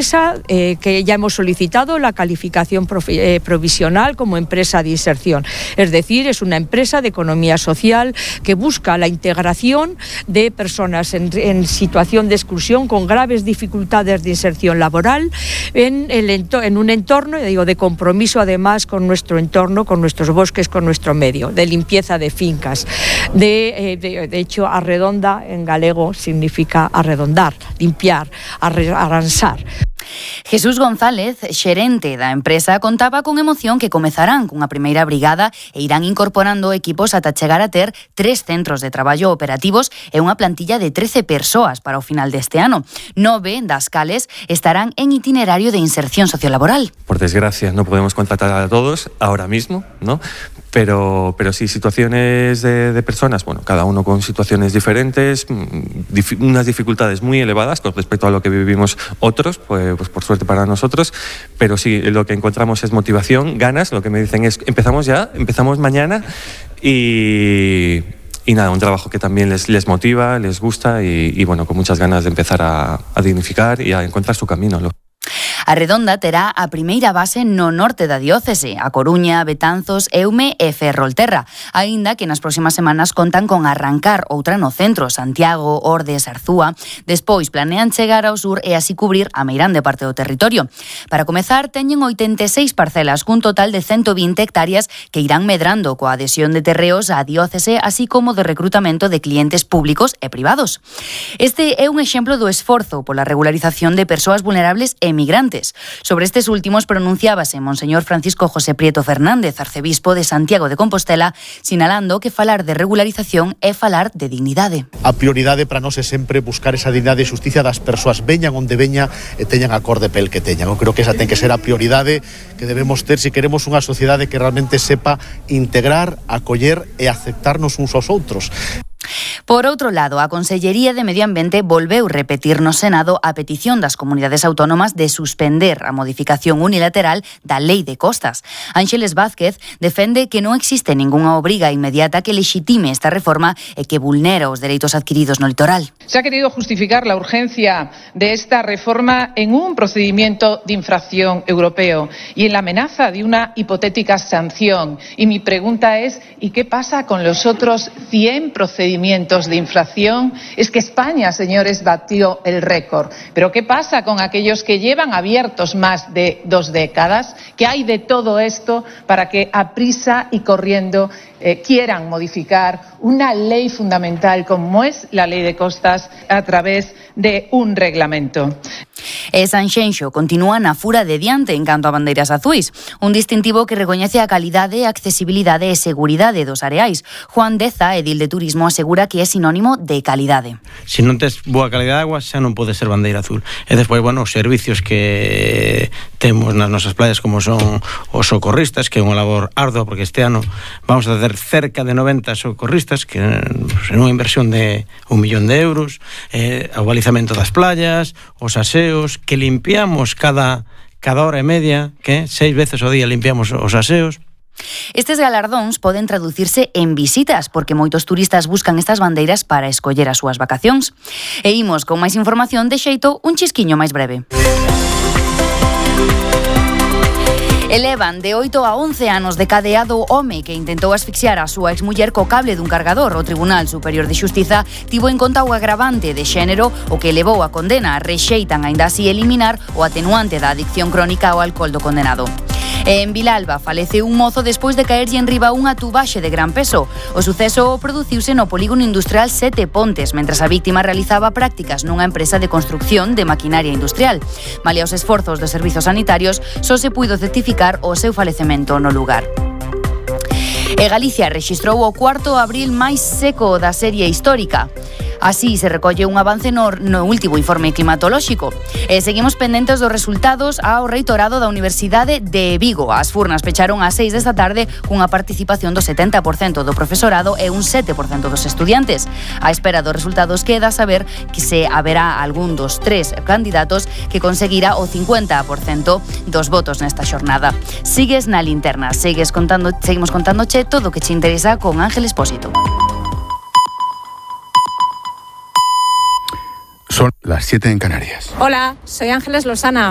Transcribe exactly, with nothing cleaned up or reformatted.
empresa eh, que ya hemos solicitado la calificación profi- eh, provisional como empresa de inserción. Es decir, es una empresa de economía social que busca la integración de personas en, en situación de exclusión con graves dificultades de inserción laboral en, el ento- en un entorno, digo, de compromiso además con nuestro entorno, con nuestros bosques, con nuestro medio, de limpieza de fincas. De, eh, de, de hecho, arredonda en galego significa arredondar, limpiar, arre- aransar. Jesús González, xerente da empresa, contaba con emoción que comezarán cunha primeira brigada e irán incorporando equipos ata chegar a ter tres centros de traballo operativos e unha plantilla de trece persoas para o final deste ano. Nove das cales estarán en itinerario de inserción sociolaboral. Por desgracia, no podemos contratar a todos ahora mismo, ¿no? Pero, pero sí, situaciones de, de personas, bueno, cada uno con situaciones diferentes, dif- unas dificultades muy elevadas con respecto a lo que vivimos otros, pues, pues por suerte para nosotros, pero sí, lo que encontramos es motivación, ganas, lo que me dicen es, empezamos ya, empezamos mañana y... Y nada, un trabajo que también les, les motiva, les gusta y, y bueno, con muchas ganas de empezar a, a dignificar y a encontrar su camino, ¿no? A Redonda terá a primeira base no norte da diócese, a Coruña, Betanzos, Eume e Ferrolterra, aínda que nas próximas semanas contan con arrancar outra no centro, Santiago, Ordes, Arzúa. Despois planean chegar ao sur e así cubrir a meirande parte do territorio. Para comezar, teñen oitenta e seis parcelas cun total de ciento vinte hectáreas que irán medrando coa adhesión de terreos á diócese, así como de recrutamento de clientes públicos e privados. Este é un exemplo do esforzo pola regularización de persoas vulnerables e migrantes. Sobre estes últimos pronunciábase Monseñor Francisco José Prieto Fernández, arcebispo de Santiago de Compostela, sinalando que falar de regularización é falar de dignidade. A prioridade para nós é sempre buscar esa dignidade e xusticia das persoas, veñan onde veñan e teñan a cor de pel que teñan. Eu creo que esa ten que ser a prioridade que debemos ter se queremos unha sociedade que realmente sepa integrar, acoller e aceptarnos uns aos outros. Por outro lado, a Consellería de Medio Ambiente volveu repetir no Senado a petición das comunidades autónomas de suspender a modificación unilateral da Lei de Costas. Ángeles Vázquez defende que non existe ningunha obriga inmediata que lexitime esta reforma e que vulnera os dereitos adquiridos no litoral. Se ha querido justificar la urgencia de esta reforma en un procedimiento de infracción europeo y en la amenaza de una hipotética sanción. Y mi pregunta es, ¿y qué pasa con los otros cien procedimientos de infracción? Es que España, señores, batió el récord. Pero ¿qué pasa con aquellos que llevan abiertos más de dos décadas? ¿Qué hay de todo esto para que a prisa y corriendo eh, quieran modificar una ley fundamental como es la Lei de Costas a través de un reglamento? E Sanxenxo continúa na fura de diante en canto a bandeiras azuis, un distintivo que recoñece a calidade, accesibilidade e seguridade dos areais. Juan Deza, edil de Turismo, asegura que é sinónimo de calidade. Se non tes boa calidade de agua, xa non pode ser bandeira azul. E despois, bueno, os servicios que temos nas nosas playas, como son os socorristas, que é unha labor ardua, porque este ano vamos a ter cerca de noventa socorristas, que pues, en unha inversión de un millón de euros, eh, o balizamento das playas, os aseos, que limpiamos cada, cada hora e media, que seis veces ao día limpiamos os aseos. Estes galardóns poden traducirse en visitas, porque moitos turistas buscan estas bandeiras para escoller as súas vacacións. E imos con máis información de xeito un chisquiño máis breve. Elevan de oito a once anos de cadeado o home que intentou asfixiar a súa exmuller co cable dun cargador. O Tribunal Superior de Xustiza tivo en conta o agravante de xénero, o que levou a condena. Rexeitan aínda así eliminar o atenuante da adicción crónica ao alcohol do condenado. E en Vilalba falece un mozo despois de caerlle enriba unha tubaxe de gran peso. O suceso produciuse no polígono industrial Sete Pontes, mentras a víctima realizaba prácticas nunha empresa de construcción de maquinaria industrial. Malia os esforzos dos servizos sanitarios, só se puido certificar o seu falecemento no lugar. E Galicia rexistrou o cuarto abril máis seco da serie histórica. Así se recolle un avance no, no último informe climatolóxico. E seguimos pendentes dos resultados ao reitorado da Universidade de Vigo. As furnas pecharon ás seis desta tarde cunha participación do setenta por cento do profesorado e un sete por cento dos estudiantes. A espera dos resultados queda saber que se haberá algún dos tres candidatos que conseguirá o cincuenta por cento dos votos nesta xornada. Sigues na linterna, segues contando, seguimos contándoche todo o que te interesa con Ángel Expósito. Son las siete en Canarias. Hola, soy Ángeles Lozana.